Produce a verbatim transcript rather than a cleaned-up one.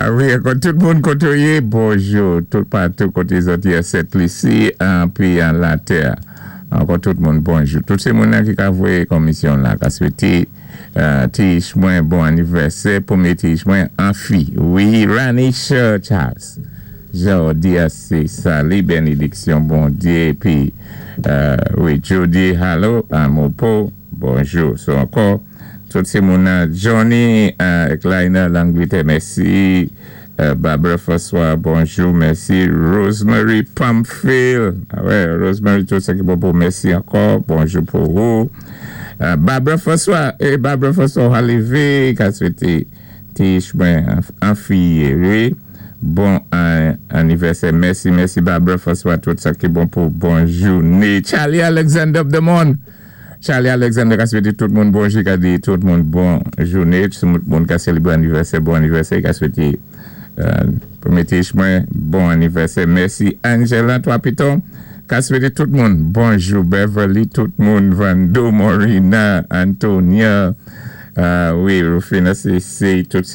Ah wi, ankò tout moun koté ou yé, bonjou, tout patou koté zòt yé Sent Lisi, pi an latè. Ankò tout moun bonjou. Tout sé moun ki ka voyé komisyon la, ka swété ti mwen bon anivèsè, pwémyé ti mwen an fi. Wi, Ranisha Charles. Jodi a sé sali, bénédiksyon, Bondyé, pi, wi, Jody, hello, Amopo, bonjou. So ankò, tout sé moun Johnny Kleiner, Langleterre, mèsi. Barbara François, bonjou, mèsi. Rosemary Pamphile, ah wè, Rosemary, tout sa ki bon pou mèsi ankò, bonjou pou ou. Barbara François, eh, Barbara François, Halivé, ka swété ti mwen an fi, wi. Bon anivèsè, mèsi, mèsi Barbara François, tout sa ki bon pou bonjou. Charlie Alexander of the Monde. Charlie Alexander ka swété tout moun bonjou, ka di tout moun bon jouné, tout moun ka sélébré anivèsè, bon anivèsè, ka swété pwémyé ti mwen bon anivèsè. Mèsi Angela Trois-Pitons, ka swété tout moun bonjou, Beverly, tout moun, Vando, Morina, Antonia, wi, Rufina, sé tout sé